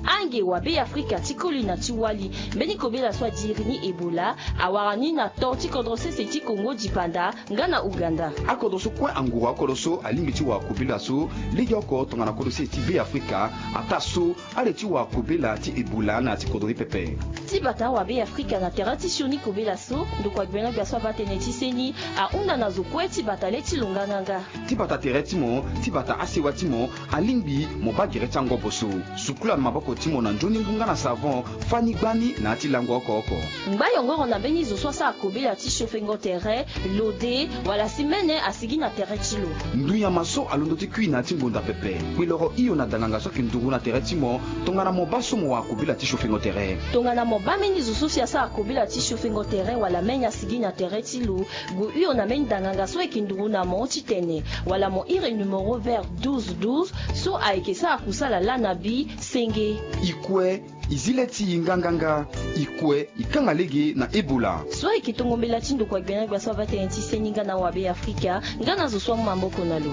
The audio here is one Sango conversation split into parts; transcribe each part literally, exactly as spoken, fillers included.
Ange wa Be Afrika ti koli na ti wali, mbeni kobela so adiri ni Ebola awara ni na to ti kodro sese ti Kongo dipanda nga na Uganda. Akodro so kue anguru akodro so alingbi ti wara kobela so legeoko tongana kodro sese ti Be Afrika, ataa so ale ti wara kobela ti Ebola na ya ti kodro ni pepe. Ti bata wa Be Afrika na tere ti sioni kobela so ndokua gbena gbia so abaa tënë ti seni ahunda na zo kue ti bata le ti lo nganganga. Ti bata tere ti mo, ti bata asewa ti mo, alingbi mo baa gere ti angobo so. Sukula maboko ti mo na nzoni ngu nga na savon, fani gbani na ya ti lango oko oko. Ngba yongoro na mbeni zo so asara kobela ti siofengo tere, lode, wala si mene asigi na tere ti lo. Ndu nyama so alondo ti kui na ya ti ngonda pepe, kpeloro hio na danganga so ayeke nduru na tere ti mo, tongana mo baa so mo wara kobela ti siofengo tere. Tongana mo baa mbeni zo so si asara kobela ti siofengo tere wala mene asigi na tere ti lo, gue hio na mbeni danganga so ayeke nduru na mo titene wala mo iri numero vert douze douze so ayeke sara kusala laa na bi senge. I kue, i zi le ti i nganganga. I kue, i kanga lege na Ebola. So ayeke tongo mbela ti ndokua gbena gbia so abaa tënë ti seni nga na wa Be Afrika, nga na zo so amu maboko na lo.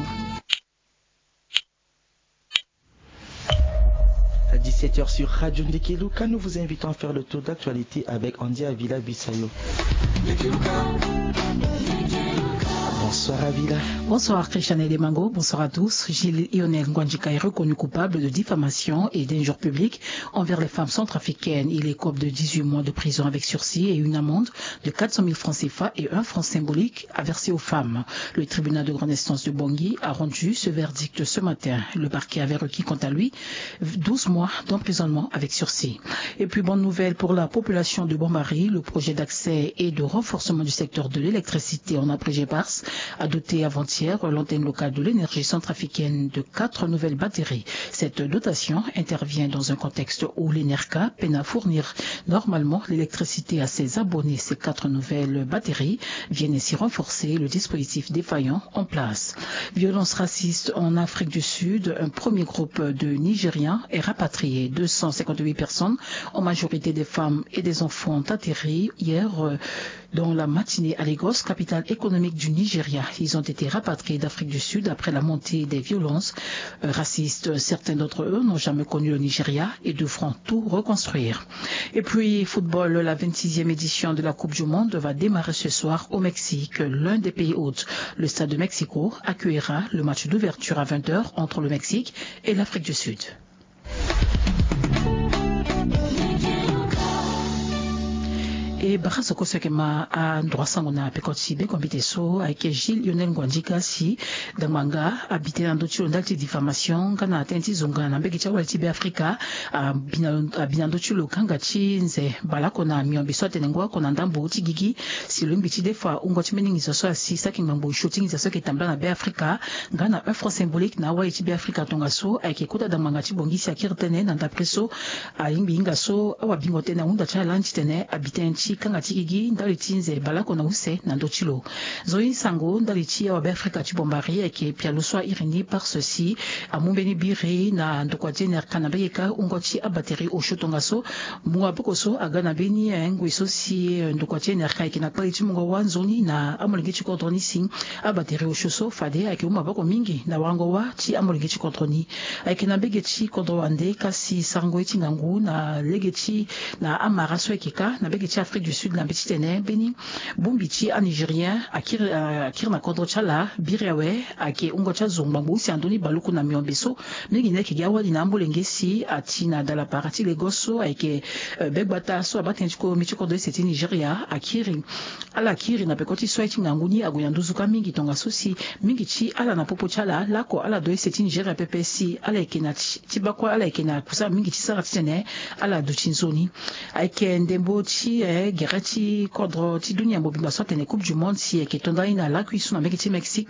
À dix-sept heures sur Radio Ndekeluka, nous vous invitons à faire le tour d'actualité avec Andy Avila Bisayo. Bonsoir Avila. Bonsoir Christian Edemango, bonsoir à tous. Gilles Lionel Ngwandjika est reconnu coupable de diffamation et d'injures publiques envers les femmes centrafricaines. Il écope de dix-huit mois de prison avec sursis et une amende de quatre cent mille francs C F A et un franc symbolique à verser aux femmes. Le tribunal de grande instance de Bangui a rendu ce verdict ce matin. Le parquet avait requis quant à lui douze mois d'emprisonnement avec sursis. Et puis, bonne nouvelle pour la population de Bombari, le projet d'accès et de renforcement du secteur de l'électricité en abrégé BARS a doté avant-hier l'antenne locale de l'énergie centrafricaine de quatre nouvelles batteries. Cette dotation intervient dans un contexte où l'ENERCA peine à fournir normalement l'électricité à ses abonnés. Ces quatre nouvelles batteries viennent ainsi renforcer le dispositif défaillant en place. Violence raciste en Afrique du Sud, un premier groupe de Nigériens est rapatrié. Deux cent cinquante-huit personnes, en majorité des femmes et des enfants, ont atterri hier, euh, dans la matinée à Lagos, capitale économique du Nigeria. Ils ont été rapatriés d'Afrique du Sud après la montée des violences, euh, racistes. Certains d'entre eux n'ont jamais connu le Nigeria et devront tout reconstruire. Et puis, football, la vingt-sixième édition de la Coupe du Monde va démarrer ce soir au Mexique, l'un des pays hôtes. Le stade de Mexico accueillera le match d'ouverture à vingt heures entre le Mexique et l'Afrique du Sud. E bara so kue so ayeke ma androit sango na peko ti beko mbite so ayeke Gilles Lionel Ngwandjika si dangba nga abi tënë na ndö ti lo ndali ti diffamation nga na tënë ti zonga na mbege ti awali ti Be Afrika. Abi na, abi na ndö ti lo kanga ti nze baleoko na miombe so atene ngu oko na ndambo ti gigi. Si lo lingbi ti defa wungo ti mbeni nginza so asi saki ngbangbo osio ti nginza so ayeke tambula na Be Afrika nga na un franc symbolique na awali ti Be Afrika tongaso ayeke kota dangba nga ti bongi si akiri tënë na ndapre so alingbi hinga so awabingo tënë ahunda ti ala ni titene abi tënë ti kanga ti gigi ndali ti nze baleoko na use na ndö ti lo. Nzoni sango ndali ti awa Be Afrika ti Bombari ayeke pialo so airi ni parce si amu mbeni biri na ndokua ti NRK na mbege kâ wungo ti abateri osio tongaso. Mungo maboko so aga na mbeni, eh, ngoi so si, eh, ndokua ti NRK ayeke na kpali ti mungo wâ nzoni na amolenge ti kodro ni si abateri osio so fade ayeke mu maboko mingi na warango wâ ti amolenge ti kodro ni. Ayeke na mbege ti kodro wande kasi sarango ye ti ngangu na lege ti na amara so ayeke kâ na mbege ti Afrique du Sud na mbeti titene mbeni bongbi ti aNigérien akiri, akiri na kodro ti ala biri awe. Ayeke wungo ti azo ngbangbo use na ndö ni baluku na miombe so mingi ni ayeke gi awali na amolenge si ati na dalapara ti Lagos so ayeke, eh, begbata so abaa tënë ti komi ti kodro use ti Nigeria akiri. Ala kiri na peko ti so aye ti ngangu ni ague na nduzu kâ mingi tongaso si mingi ti ala na popo ti ala laoko ala do use ti Nigeria pepe si ala yeke na ti, ti baa kue ala yeke na kusala mingi ti sara titene ala duti nzoni. Ayeke ndembo ti, eh, gere ti kodro ti dunia mobimba so atene Coupe du Monde si ayeke to ndani na lakui so na mbege ti Mexique.